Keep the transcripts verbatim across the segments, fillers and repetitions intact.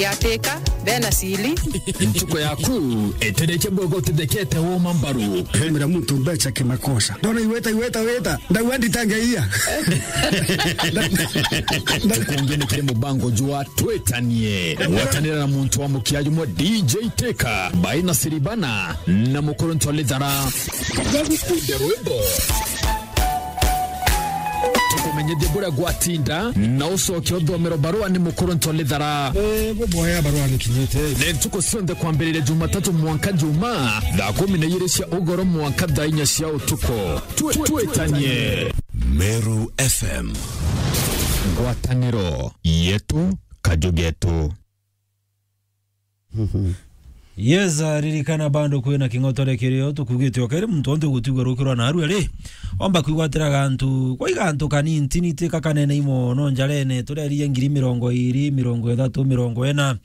Yateka, bena sili. Ntuko yaku, etereche bwego utithekete woma mbaru. Hemera muntu mbecha kimakosa. Ndona iweta, iweta, weta. Ndauga nditangeia. Tukungi ni kiri mubango jwa Twitanie. Gwatanira na muntu wa mukia jumwe D J Teka, Baina Siribana, na Mukuru Ntolithara. Gagikunde rwimbo. Tukumenyithie buria gwatinda, na ucoke uthomero barua ni Mukuru Ntolithara. Eh, buboya barua ni kinyite. Ni ntuku cionthe kwambiriria Jumatatu mwanka Juma, thaa kumi na igiri cia ugoro mwanka thaa inya cia utuku. Twi-, twitanie. Meru F M. Ngwataniro yetu, kaju getu. Yes, ah, ririkana bado kwina king'otore kirio tukugite o keri muntu onte gutigwa rukirwa na arua ri. Omba kwigwatira gantu, kwa igantu kanini tini tika kanene imo no njarene, turerie ngiri mirongo iri, mirongo ithatu, mirongo ina,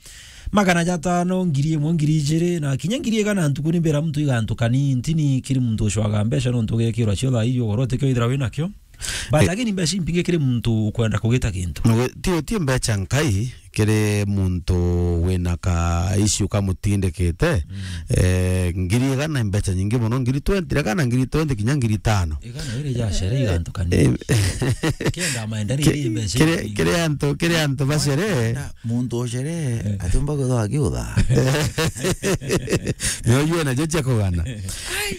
magana jatano, ngiri imwe, ngiri ijiri, na kinya ngiri igana ntuku ni mbira muntu igantu kanini tini kiri muntu ucwaga mbeca nontu ugekirwa cio thaa iyo ugoro utikio ithira wina kio. But eh, again, mbeca impingi kiri muntu ukwenda kugita kintu. Nwe-, ti, ti mbeca nkai kiri muntu wina ka issue kamutindikite. Mm. Eh, ngiri igana mbeca nyingi muno, ngiri twenty, igana, ngiri twenty kinya ngiri tano. Igana iri ja shere igantu kanini. Eh, kenda maenda ni ki-, iri mbeca kiri, nyingi. Kiri antu, kiri antu ba shere. Na muntu o shere, eh, atiumba kwithwa akiutha. Nio yue najo cia kugana.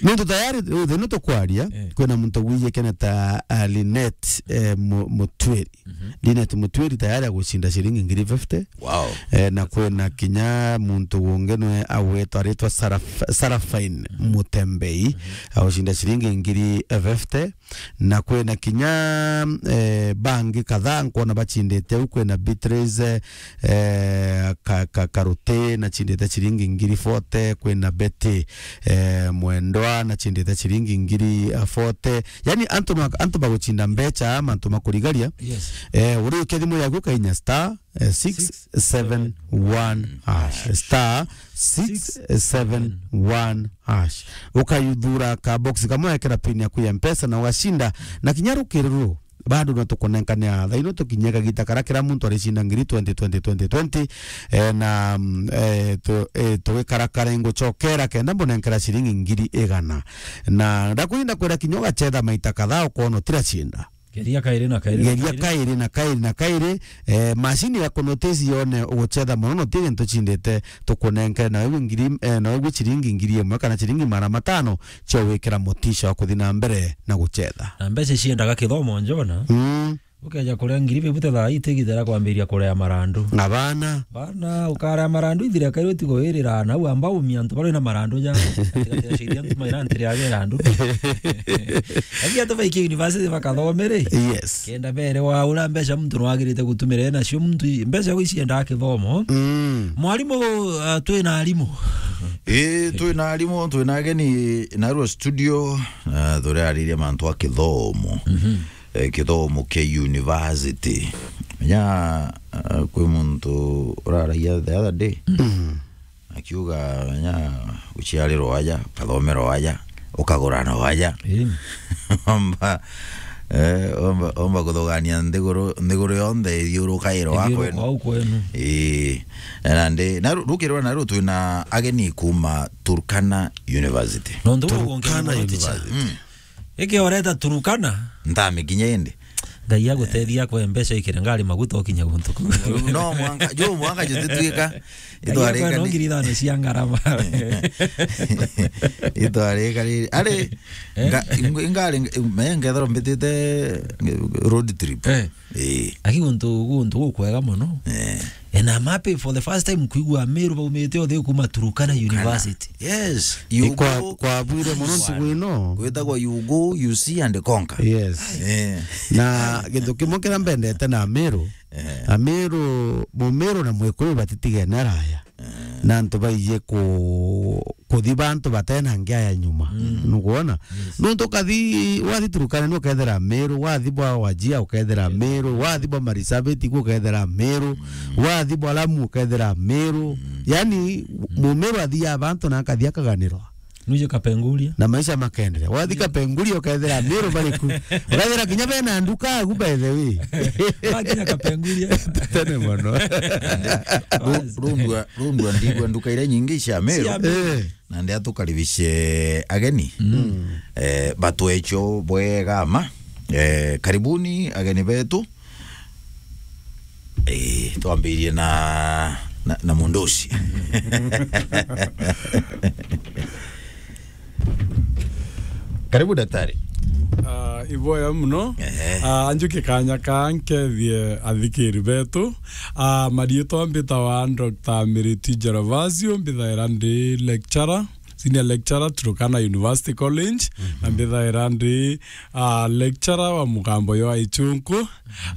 Nontu tayari, riu thina tukwaria, eh, kwina muntu wiyikene ta, ah, Linet, eh, Mu-, Mutwiri. Mhm. Linet Mutwiri tayari agucinda ciringi ngiri fifty. Wow. Eh, na kwina kinya muntu ungi nwe agwetwa, aritwa Saraf-, Sarafine, mhm, Mutembei, mhm, agucinda ciringi ngiri fifty. Na kwina kinya, eh, bangi kadhaa nkwona bacindite au, kwina Beatrice, eh, ka, ka, Karuti, nacindite ciringi ngiri forty, kwina Betty, eh, Mwendwa, nacindite ciringi ngiri, eh, forty. Yani antu no, antu bagucinda mbecha, mantu makurigaria. Yes. Eh, uri ukia thimu yaku ukainya star, eh, six seven one hash. Star six seven one hash. Ukayuthura ka box kamwe, ekera pin yaku ya Mpesa na ugacinda. Na kinya rukiri ruru, bado no tukunenkanea. Thaa ino tukinyia kagita karia kira muntu aricinda ngiri twenty, twenty, twenty, twenty. Eh, na, mm, eh, tu-, eh, tugikara kare ngucokera kenda mbunenkera ciringi ngiri igana. Na ndakwinda kwira kinya ugacetha maita kadhaa ukoona utiracinda. Geria kairi na kairi na kairi. Geria kairi na kairi na kairi. Eh, macini ya kunotice yone ugucetha mono, no ti gintu cindite, tukunenkere na wewe ngiri, eh, na wewe ciringi ngiri imwe kana ciringi magana matano cia gwikira mutisha wa kuthi na mbere na gucetha. Na mbeca ciendaga kithomo, Njona. Mm. Ukeja kuria ngiri fifty thaa ii tigithera kwambiria kurea marandu. Na bana. Bana, ukarea marandu ithire kairi utigo wirira na u amba umia antu bari na marandu ja. Katikati ya ciria antu maira ntiri age randu. Aki antu baiki university bakathome ri? Yes. Kenda bere wa ura mbeca muntu no agirite gutumira nacio muntu i-, mbeca gwi ciendaga kithomo. Mm. Mwarimu, ah, twina arimu. Ii, twina arimu, twina ageni narua studio, na turariria mantu a kithomo. Mhm. Eh, kithomo kia university. Menya, ah, kwi muntu uraragia the other day. Mm. Akiuga, menya, uciarirwa aja, ukathomera aja, ukagura na aja. Ii. Omba, eh, omba, omba kuthugania nthiguru, nthiguru yonthe ithiuruka iro wa kwenu. Ithiuruka au kwenu. Ii. Na ndi, na ru-, rukirwa na ru twina ageni kuma Turkana University. Nontu Turkana University. Mm. Iki oreta Turukana. Ntamikinya indi. Ngai agutethia akwe mbeca ikire ngari maguta ukinya guntu kuu. No mwanka, jo mwanka jo tituika. Ngai akwe no ngiri ithano cia ngarama. Itwarika riri. Ari, eh? Nga-, ing-, ingari, me ngethero mbitite road trip. Eh. Ii. Aki guntu, guntu gukwega mono. Eh. And I'm happy for the first time kwigua Meru baumite othe kuma Turukana University. Yes. Ni kwa, kwabwire mono ntugu ino. Kwitagwa you go, you see and conquer. Yes. Eh. Na gintu kimwe kiria mbendete na Meru, eh, na Meru, Mumeru na Mwikuyu batitigene araya. Eh. Na antu baije ku-, kuthi bantu batena ngia ya nyuma. Mm. Nukwona? Yes. Nuntu ukathi, wathi Turukana ni ukethira Meru, wathi bwa Wajia ukethira Meru, wathi bwa Marsabit ku ukethira Meru, mm, wathi bwa Lamu ukethira Meru. Mm. Yani, mm, Mumeru athia bantu na akathi akaganirwa. Nuje Kapenguria. Na maisha makaendelea. Wathi Kapenguria, ukethira Meru bariku. Ukethira kinya bena nduka agu, by the way. Wakinya Kapenguria. Tene mono. Ru-, rundua, rundua ndigua nduka iria nyingi cia Meru. Cia Meru. Eh. Na ndia tukaribishe ageni. Mm. Eh, batwecho bwega ma. Eh, karibuni ageni betu. Eh, twambirie na, na, na mundu ucio. Karibu, daktari. Ah, iboya muno. Ehe. Ah, anjuke kanya ka nkethie athikiri betu. Ah, marietwa mbitawa Doctor Miriti Gervasio, mbithaira ndi lecturer, senior lecturer Turkana University College, na mbithaira ndi, ah, lecturer wa mugambo yo aichunku.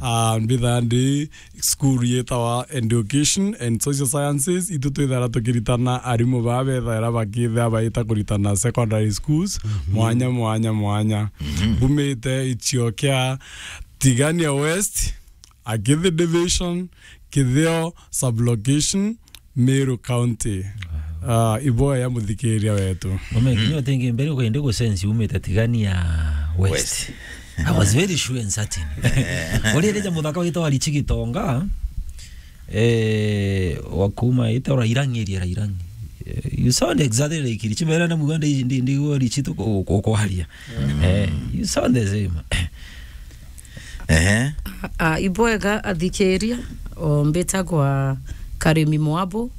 Ah, mbithaira ndi school yetawa Education and Social Sciences. Itu twithaira tukiritana arimu baa bethaira bakithia baita kuritana secondary schools, mwanya, mwanya, mwanya. Mbumite ichio kia Tigania West, Akithi Division, Kithio Sublocation, Meru County. Ah, iboya muthikiria wetu. Ume, kinya utingi mbere ukwende gusensi umite Tigania West. West. I was very sure and certain. Uri rija muthaka witwa Richi Gitonga, eh, wa kuma ita Rairangi, ria Rairangi. Eh, you sound exactly like Richi. Mera na muganda ndi, ndi, ndi, Richi tu ku-, ku-, kwaria. Eh, you sound the same. Ehe. Ah, ibwega athikiria, o mbitagwa Karimi Mwabo.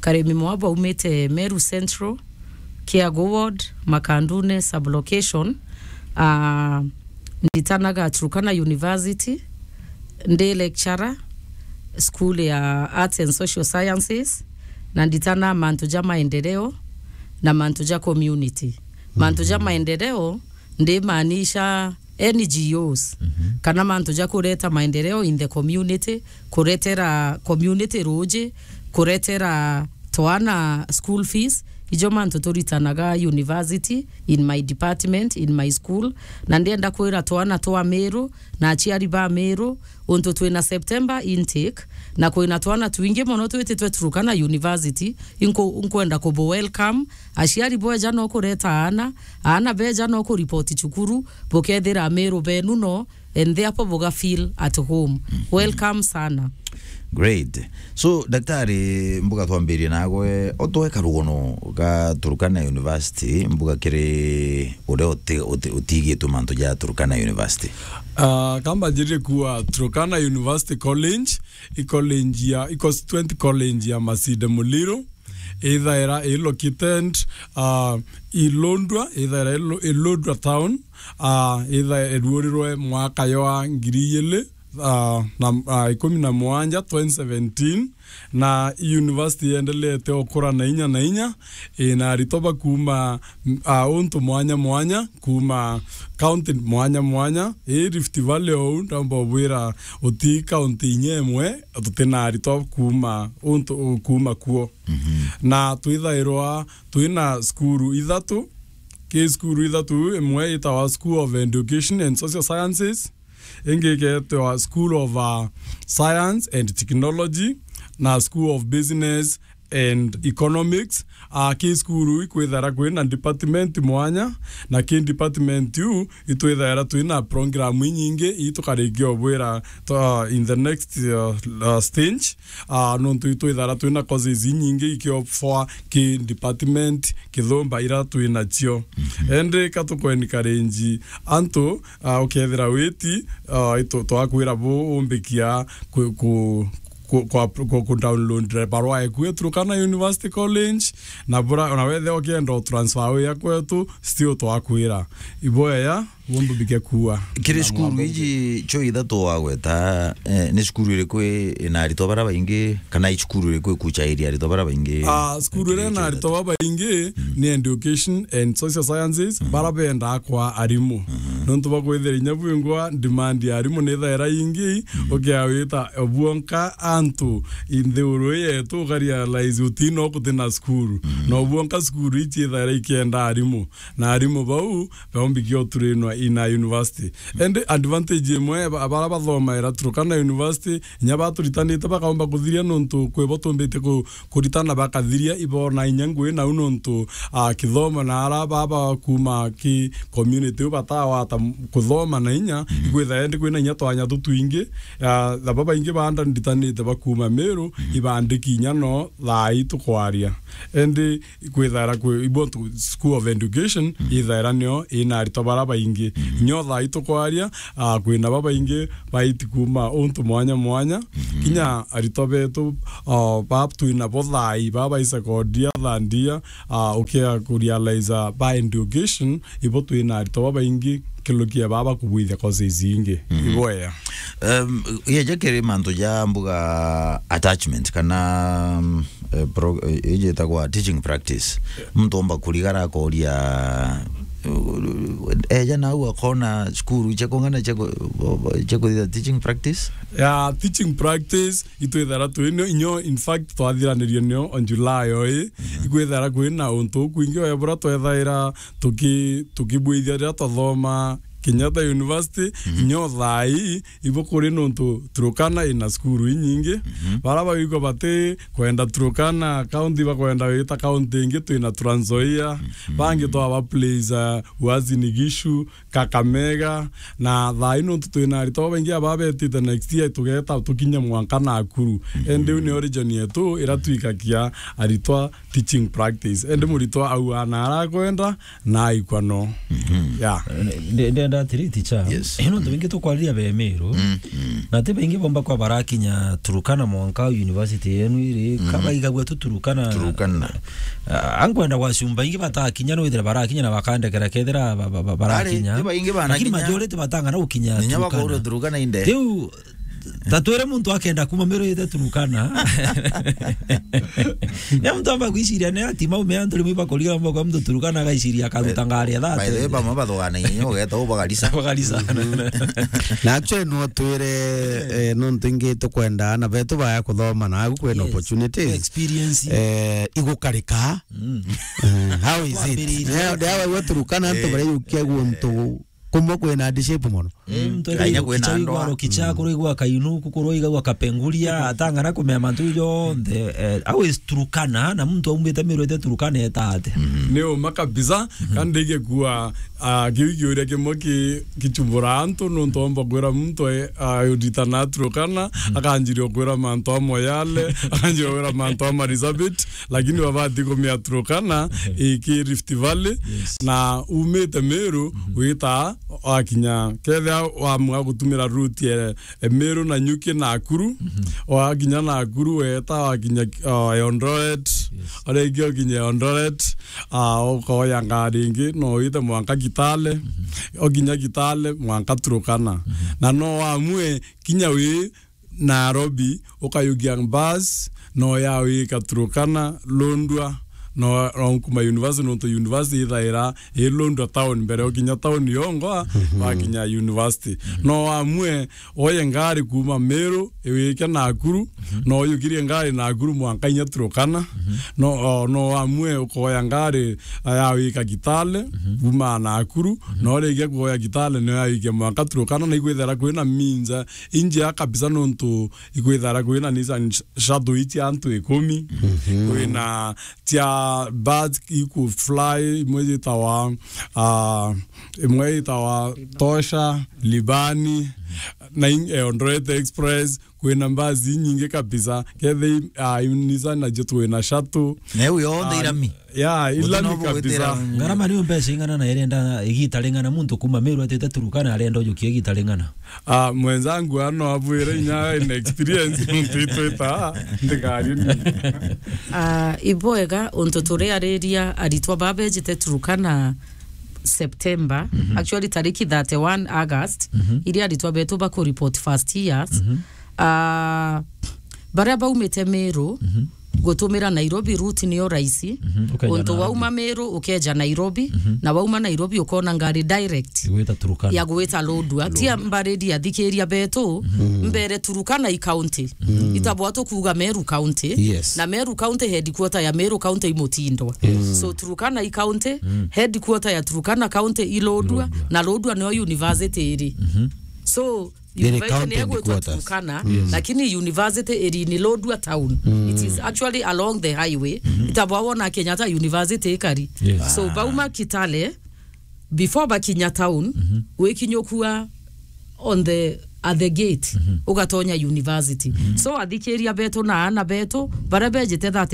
Karimi Mwabo aumite Meru Central, Kiagu Ward, Makandune Sublocation. Ah, nditanaga Turkana University, ndi lecturer, school ya Arts and Social Sciences, na nditana mantu ja maendeleo na mantu ja community. Mantu ja maendeleo ndimaanisha N G Os, kana mantu ja kureta maendeleo in the community, kuretera community ruuji, kuretera twana school fees. Ijo mantu turitanaga university, in my department, in my school. Na ndienda kwira twana twa Meru na aciari ba Meru, untu twina September intake, na kwina twana twingi mono twititwe Turkana University, inku-, nkwenda kubu welcome. Aciari bweja no kureta aana, aana beja no kuripoti cukuru, bukethira Meru benu no, and therefore buga feel at home. Welcome sana. Great. So, daktari, mbuga twambirie nagwe, utwe karugono ga Turkana University, mbuga kiri uria uti-, uti-, utigitwe mantu ja Turkana University. Ah, kamba njirire kuwa Turkana University College, i college ya, i constituent college ya Masinde Muliro, ithaira i located, ah, i Lodwar, ithaira i Lo-, i Lodwar town, ah, ithaira iruurirwe mwaka jwa ngiri igiri, ah, na, ah, ikumi na mugwanja, twenty seventeen, na i university yendelete okura na inya na inya, ina aritwa ba kuuma, ah, untu mwanya mwanya, kuuma county mwanya mwanya, i Rift Valley ou, ndamba ubwira uti county inya imwe tutina aritwa kuuma untu, kuuma kuo. Na twithairwa twina cukuru ithatu, ki cukuru ithatu, imwe itawa School of Education and Social Sciences, ingi igeetwa School of, uh, Science and Technology, na School of Business and Economics. Ah, ki cukuru ikwithara kwina department mwanya, na ki department iu itwithaira twina program inyingi itukarikia obwira to, in the next, uh, uh, stage. Ah, nontu itwithara twina courses inyingi ikiofoa ki department kithumba ira twinacio. Endi ka tuku encourage antu, ah, ukethira witi, ah, itu-, twakwira bu umbikia ku, ku, ku, kwa, ku, ku download barua eku ya Turkana University College, na bura, na wethe ukienda u transfer wia kwetu, still twakwira. Iboya, wumbubikia kuwa. Kiri cukuru iji cio ithatu wagweta, eh, ni cukuru iriku i-, ina aritwa bara baingi, kana i cukuru iriku ikuchairia aritwa bara baingi? Ah, cukuru iria ina aritwa babaingi ni Education and Social Sciences, bara bendaa kwa arimu. Nontu bwa kwithira inya bwingwa demand ya arimu ni thaira ingi, ukiawita obwonka antu inthi uru yetu ukarealize utina ukutina cukuru. Na obwonka cukuru ici ithaira ikienda arimu. Na arimu bau, baumbikia uturinwa in a university. Indi advantage imwe ba-, bara bathomaira Turkana University, inya baturitanite bakaomba kuthiria nontu kwi bo tumbite ku-, kuritana bakathiria, ibona inya ngui nau nontu, ah, kithomo na ara baba kuma ki community u batawata m-, kuthoma na inya, ikwitha endi kwina inya twanya tutwingi, ah, na babaingi banda nditanite bakuma Meru, ibandiki inya no thaa ii tukwaria. Endi ikwithaira kwi, ibo tu-, School of Education, ithaira nio ina aritwa bara baingi. Nyo thaa ii tukwaria, ah, kwina babaingi baiti kuma untu mwanya mwanya. Kinya aritwa betu, ah, ba twina bo thaa ii, ba bai sekondia, thandia, ah, ukia kurealize ba education, ibo twina aritwa babaingi kilukia baba kubwithia courses ingi. Ibo ea. Um, yeja kiri mantu ja mbuga attachment kana, um, eh, pro-, eh, iji itagwa teaching practice. Muntu omba kurigara akoria, uh, eja nau akona cukuru cia kung'ana cia ku-, cia kuthitha teaching practice? Ya, teaching practice, itwithara twinio, inyo, in fact, twathiranirie nio on July oi. Ikwithara kwina untu ukwingi oya bura twethaira tuki-, tukibwithia riria twathoma Kenyatta University, inyo thaa ii, ibo kuri nontu Turkana ina cukuru inyingi. Bara bagwikwa bati kwenda Turkana county, bakwenda gwita county ingi, twina Trans Nzoia. Bangi twaba place, uh, Uasin Gishu, Kakamega, na thaa ii nontu twina aritwa babaingi aba betite next year, tugeta tukinye mwanka Nakuru. Endi iu ni origin yetu ira twikagia aritwa teaching practice. Endi muritwa au ana arakwenda, na aikwa no. Yeah. Eh, nde-, ndenda atiri, teacher. Yes. Eh, nontu baingi tukwariria be Meru. Na ti baingi bomba kwa barakinya Turkana mwanka university yenu iri, ka baigagua tu Turkana. Turkana. Ah, ankwenda gwacumba ingi batakinya, no ithira barakinya na bakandekera kethira ba-, ba-, ba-, barakinya. Ti baingi banakinya. Lakini majority batang'ana gukinya Turkana. Ninya bakorwo Turkana inde. Riu, ta twire muntu akenda kuma Meru yete Turkana. Ya muntu amba gwiciria ne ati maume antu rimwe bakoriga moko muntu Turkana agaiciria akaruta ngari ya thate. By the way, bamwe bathogana inyo ugeta ubagarisa. Bagarisa. Na actually no twire, eh, nontu ingi tukwenda ana betu baya kuthoma na agu kwina opportunities. Experience. Eh, igukarika. Eh, how is it? Kwambiriria. Ndio, ndio, we Turkana antu baria yukia guntu kumwe kwina hardship mono. Eh, muntu Kenya kwina kicha andwa. Igwa kicha, kuru igwa kainu, kukuru igwa kapenguria, atang'ana kumea mantu jonthe, eh, always Turkana, na muntu aumite Meru ete Turkana etate. Ni uma kabisa, kandi igekua, ah, kiu kiuria kimwe ki-, kichumbura antu, nontu omba kwira muntu, eh, ah, uritana Turkana, akanjiria kwira mantu amwe yale, akanjiria kwira mantu ama Elizabeth, lakini babati kumia Turkana, iki Rift Valley, na umite Meru, wita wakinya, kethia wamua gutumira route ya, e, Meru na Nyuki Nakuru, wakinya Nakuru weta wakinya, o, Eldoret, oringi okinya Eldoret, a, ukoya ngari ingi, no wite mwanka Kitale, okinya Kitale mwanka Turkana. Na no wamue kinya wi Nairobi, ukayukia bus, no ya wika Turkana, Lodwar, no, no kuma university, nontu university ithaira i Lodwar town, mbere ukinya town yongo, wakinya university. No amue oye ngari kuma Meru, iwike Nakuru, no yukirie ngari Nakuru mwanka inya Turkana, no, o, no amue ukoya ngari ya wika Kitale, kuma Nakuru, no rikia kuoya Kitale, no ya wike mwanka Turkana, na ikwithira kwina minza injia kabisa, nontu ikwithara kwina Nissan sh-, Shuttle ici antu ikumi, kwina cia birds iku fly, imwe yitawa, ah, imwe yitawa Tosha, Libani, na in-, eh, Eldoret Express, kwina basi inyingi kabisa. Kethe, ah, Nissan nacio twina Shuttle. Na iu yonthe irami? Ya, ilami kabisa. Ngarama niyo mbeca ing'ana na irenda igita ring'ana muntu kuma Meru atite Turkana arenda ujukia igita ring'ana? Ah, mwenzangu ano abwire inya in experience muntu itwita ndikari ni. Ah, ibwega untu turiariria aritwa babejite Turkana September, actually tariki thirty-one August, iria aritwa betu baku report first years. Ah, baria baumite Meru, gutumira Nairobi route niyo raisi. Mhm, ukeja Untu Nairobi. Wauma Meru ukeja Nairobi, Mhm. na wauma Nairobi ukona ngari direct Gwita Turkana. Ya gwita Lodwar. Tia mbariri athikiria betu, Mhm. mbere Turkana i county. Mhm. Itabwa tukuga Meru County. Yes. Na Meru County headquarter ya Meru County i Mutindwa. Yes. So Turkana i county, Mhm. headquarter ya Turkana County i Lodwar, Lodwar. Na Lodwar niyo university iri. Mhm. So Iri university county ni egwitwa headquarters. Turkana, Yes. lakini university iri ni Lodwar town. Mm. It is actually along the highway. Mhm. Itabwa wona Kenyatta University ikari. Yes. So Ah. bauma Kitale, before bakinya town, Mhm. wikinyukua on the, at the gate, Mhm. ugatonya university. Mhm. So athikiria betu na ana betu, baria bejite that